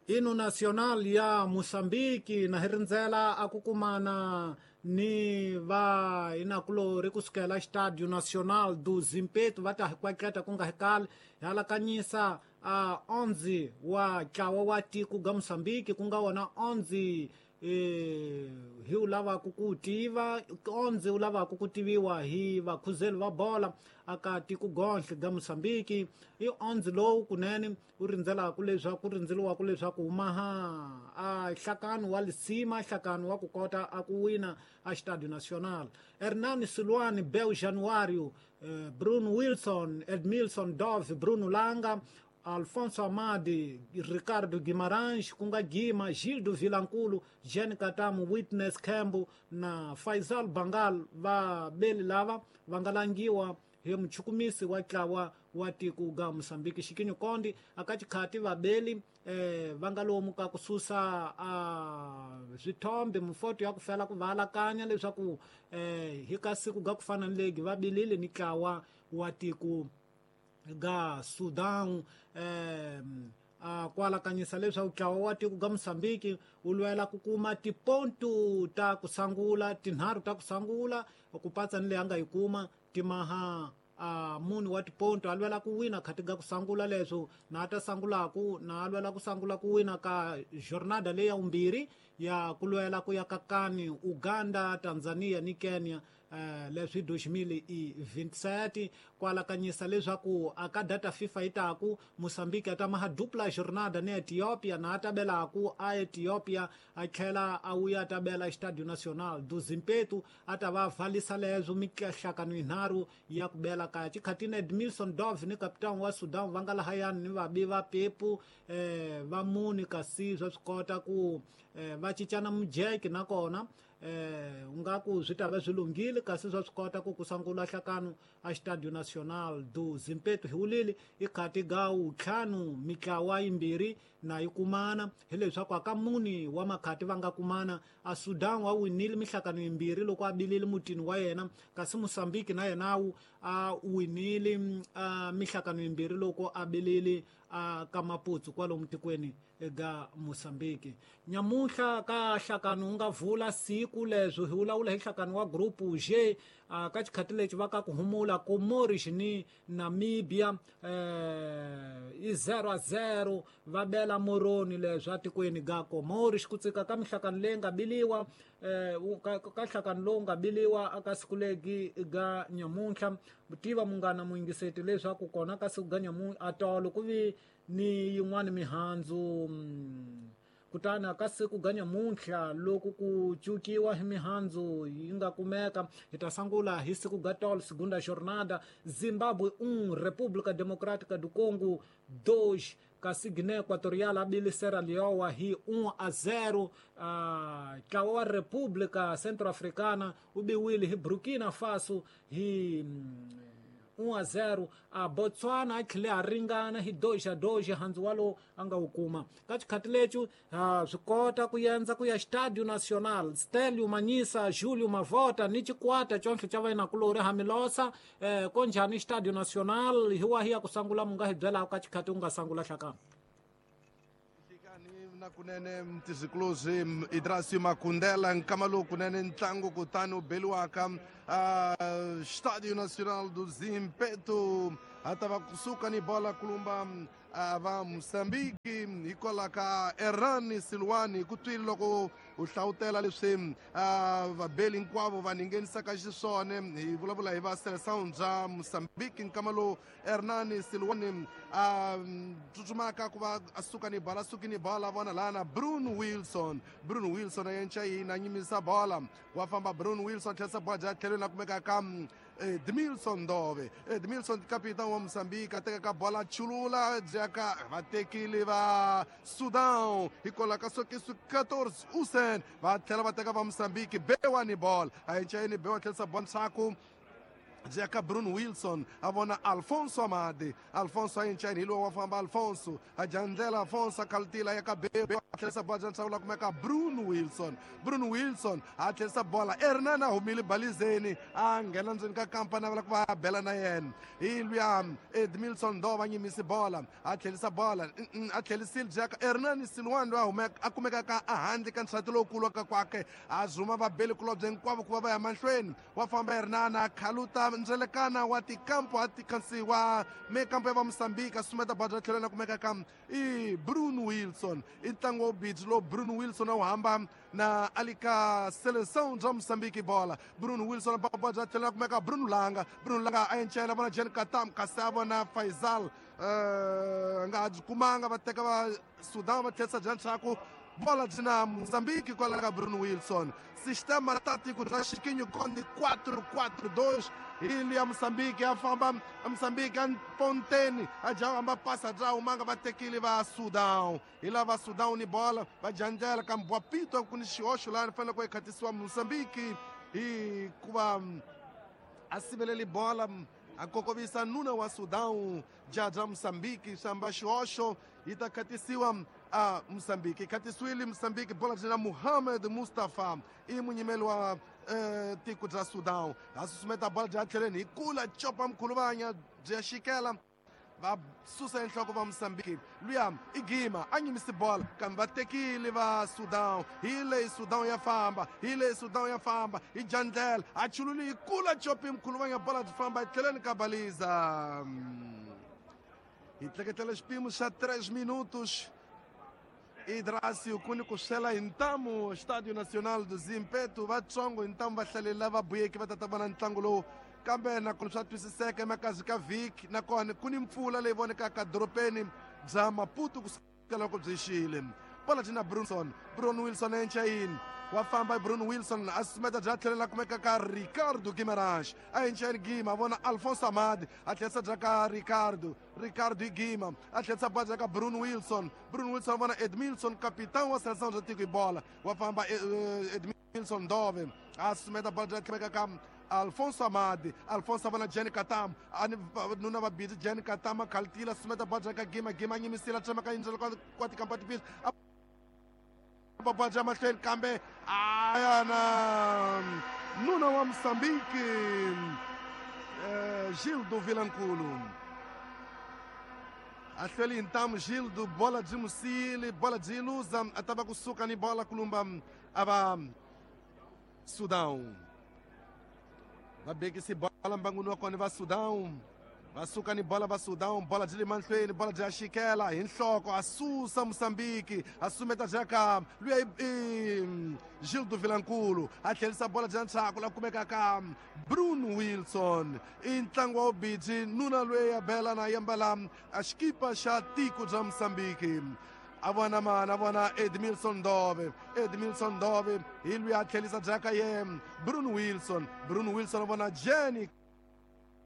Ino Nacional ya Mozambique na hi rindzela a ku kumana ni va inakulori kusukela Estádio Nacional do Zimpeto va ta hi kwatleta ku nga hi kali hi alakanyisa a 11 wa ntlawa wa tiko ga Mozambique ku nga wona 11 hi wu lavaka ku tiva 11 wu lavaka ku tiviwa hi vakhuzeli va bola aka tiko gonhle ga Mozambique i 11 lowu kunene wu rindzelaka leswaku rindzeliwaka leswaku humaha a nhlakano wa lisima nhlakano wa ku kota a ku wina a Estádio Nacional. Hernani Silwani, Bel Januário, Bruno Wilson, Edmilson Dove, Bruno Langa, Alfonso Amadi, Ricardo Guimarães, ku nga Gima, Gildo Vilankulu, Jean Katamu, Witness Kembo na Faisal Bangal va beli lava va nga langiwa hi muchukumisi wa ntlawa wa tiko ga Mozambique. Xikinyo Kondi aka xikhati vabeli va nga lomu ka ku susa swithombe mifoto ya ku fela ku va alakanya leswaku hi ka siku ga ku fana ni legi va bilile ni ntlawa wa tiko ga Sudan ku alakanyisa leswaku ntlawa wa tiko ga Mozambique wu lwela ku kuma tipontu ta ku sangula tinharhu ta ku sangula ku patsa ni leyi a nga yi kuma timaha munhu wa tiponto a lwela ku wina khati ga ku sangula leswo na ta sangulaku na a lwela ku sangula ku wina ka jornada leyi ya vumbirhi ya ku lwela ku ya ka kani Uganda, Tanzania ni Kenya leswi 2027 ku alakanyisa leswaku aka data FIFA yi taku Mozambique a ta maha dupla jornada ni Ethiopia na a ta belaku a Ethiopia a tlhela a wuya a ta bela Estádio Nacional do Zimpeto a ta va valisa leswo mihlakano yinharhu ya ku bela kaya xikhatini Edmilson Dove ni kapitani wa Sudan va nga lahayani ni vabi va pepu va muni kasi swa swi kota ku va cincana mujeke nakona nga ku swi ta va swi lunghile kasi swa swi kota ku ku sangula nhlakano a Estádio Nacional do Zimpeto hi wulile i khati ga wuntlhanu mitlawa yimbirhi na yi kumana hileswaku aka muni wa makhati va nga kumana a Sudan wa winile mihlakano yimbirhi loko a bilile mutini wa yena kasi Mozambique na yena wu a winile mihlakano yimbirhi loko a bilile ka Maputo kwalomu tikweni ga Mozambique. Nyamuhla ka nhlakano wu nga vula siku leswo hi vulavula hi nhlakano wa group G ka xikhati lexi va ka ku humula Comoros ni Namibia i 0-0 va bela Moroni leswi atikweni ga Comoros ku tsika ka mihlakano leyi nga biliwa ka nhlakano lowu nga biliwa aka siku legi ga nyamuntlha tiva munghana muyingiseti leswaku kona ka siku ga nyamuntlha atolo ku vi ni yin'wana mihandzu kutani ka siku ga nyamuntlha loko ku cukiwa hi mihandzu yi nga kumeka hi ta sangula hi siku ga tolo segunda jornada Zimbabwe 1 República Democrática do Congo 2 kasi Guiné Equatorial a bile Sierra Leone hi 1-0 ntlawa wa República Centro-Africana wu biwile hi Burkina Faso hi 1-0 a Botswana a tlhele a ringana hi 2-2 handzu walowo a nga wu kuma ka xikhati lexi swi kota ku yendza ku ya Estádio Nacional Stelio Manyisa Julio Mavota ni xikwata conhle xa vainakulori Hamilosa konjhani Estádio Nacional hi wahi ya ku sangula mu nga hi byelaka ka xikhati u nga sangula hlakana na kunene mtizikuluzi Idrasio Makundela nkama lowu kunene ntlangu kutani wu beliwaka Estádio Nacional do Zimpeto a ta va kusuka ni bola kulumba va Mozambique hikwalaho ka Erani Silwani ku twile loko u hlawutela leswi vabeli hinkwavo va ninghenisaka xiswona hi vulavula hi va Seleção bya Mozambique nkama lowu Hernani Silwani a tsutsumaka ku va a suka ni bola suki ni bola vona lana Bruno Wilson Bruno Wilson a yenca yini a nyimisa bola wa famba Bruno Wilson tlherisa bola bya tlhelweni la kumeka ka Edmilson Dove Edmilson capitão wa Mozambique a teka ka bola chulula jaka va tekile va Sudan hikwalaho ka sokisu 14 Usen va tlhela va teka va Mozambique bewa ni bola a yenca yini bewa tlherisa bola ndzhaku. Byi ya ka Bruno Wilson, a vona Alfonso Amade. Alfonso a yincani hi lowu wa famba Alfonso a dya ndlela. Alfonso a khalutila ya ka Bebe, a tlherisa bola bya nhlawula kumeka Bruno Wilson. Bruno Wilson a tlherisa bola, Hernan a humile balizeni, a nghena ndzeni ka kampa, navela ku va a bela na yena hi luya Edmilson Dova, nyimisi bola, a tlherisa bola, a tlherisile byi ya ka Hernan Silwan loyi a humeka a kumekaka ehandle ka nxati lowukulu ka kwake, a zuma vabeli kulobye hinkwavo ku va va ya mahlweni. Wa famba Hernana, khaluta ndzelekana wa tikampo a tikansi wa mekampo ya va Mosambiki, a sumeta bola bya tlhelo na kumeka ka i Bruno Wilson. I ntlangu wa bidzi lowu Bruno Wilson a wu hamba na alika Seleção bya Mosambiki bola. Bruno Wilson a bola bya tlhelo na kumeka Bruno Langa. Bruno Langa a encela, vona Jen Katam, kasi a vona Faisal, nga ha byi kumanga, va teka va Sudan, va tlherisa bya ndzhaku, bola byi na Mozambique kwala ka Bruno Wilson. Sistema tático bya Chiquinho Conde 4-4-2 hi ya Mozambique, ya famba Mozambique a ponteni, a dya hamba pasa bya humanga, va tekile va Sudan, hi lava Sudan ni bola, va dya ndlela kambe wa pito ku ni xihoxo laha fanele ku ekhatisiwa Mozambique hikuva a siveleli bola, a kokovisa nuna wa Sudan jaja Mozambique, samba xihoxo yi ta khatisiwa a Mozambique. Khatisiwile Mozambique, bola byi na Muhammad Mustafa, i munyimeli wa tiko bya Sudan, a susumeta bola bya tlheleni hi kula copa mkhuluvanya byi ya xikela, va susa enhloko va Mozambique. Luya i Gima, a nyimisi bola kambe va tekile va Sudan. Hi leyi Sudan ya famba, hi leyi Sudan ya famba, hi jandlela a chululi hi kula copi mkhuluvanya, bola byi famba etlheleni ka baliza. Hi tleketlela xipimo xa 3 minutos. Idrasio ku ni ku swela hi ntamu Estádio Nacional do Zimpeto, vatsongo hi ntamu vahlaleri lava buyeke va tata vona ntlangu lowu, kambe nakona swa twisiseka emakazi ka vhiki, nakona ku ni mpfula leyi vonekaka dorobeni bya Maputo kusukela loko byi xile. Bola byi na Brunson, Bruno Wilson enchayini, wa famba Bruno Wilson, a susumeta bya tlhelela kumeka ka Ricardo Guimarães, a enchayini Gima, a vona Alfonso Amadi, a tlherisa bya ka Ricardo. Ricardo Igima a tlherisa bola ka Bruno Wilson. Bruno Wilson a vona Edmilson, capitão wa seleção bya tiko hi bola, wa famba Edmilson Dove, a susumeta bola bya tlheka ka Alfonso Amadi. Alfonso a vona Jenny Katam, ani nuna va busy Jenny Katam, a khalutila, susumeta bola ka Gima. Gima nyimisila tsema ka yindzela kwa tikampa tipisi bola bya mahlweni, kambe ayana nuna wa Mozambique Gildo Vilankulu a hlweli hi ntamu. Gildo, bola byi musile, bola byi luza, a ta va kusuka ni bola kulumba a va Sudan. Va bekisi bola mbanguni wa kona va Sudan, va suka ni bola va Sudan, bola byi le mahlweni, bola byi ya xikela hi nhloko, a susa Mozambique, a sumeta bya ka luya i Gildo Vilankulu, a tlherisa bola bya ndzhaku la kumeka ka Bruno Wilson. I ntlangu wa ubiji, nuna loyi ya bela na yambala a xikipa xa tiko bya Mozambique, a vona mana, a vona Edmilson Dove. Edmilson Dove hi luya a tlherisa bya ka ye Bruno Wilson. Bruno Wilson a vona Jenny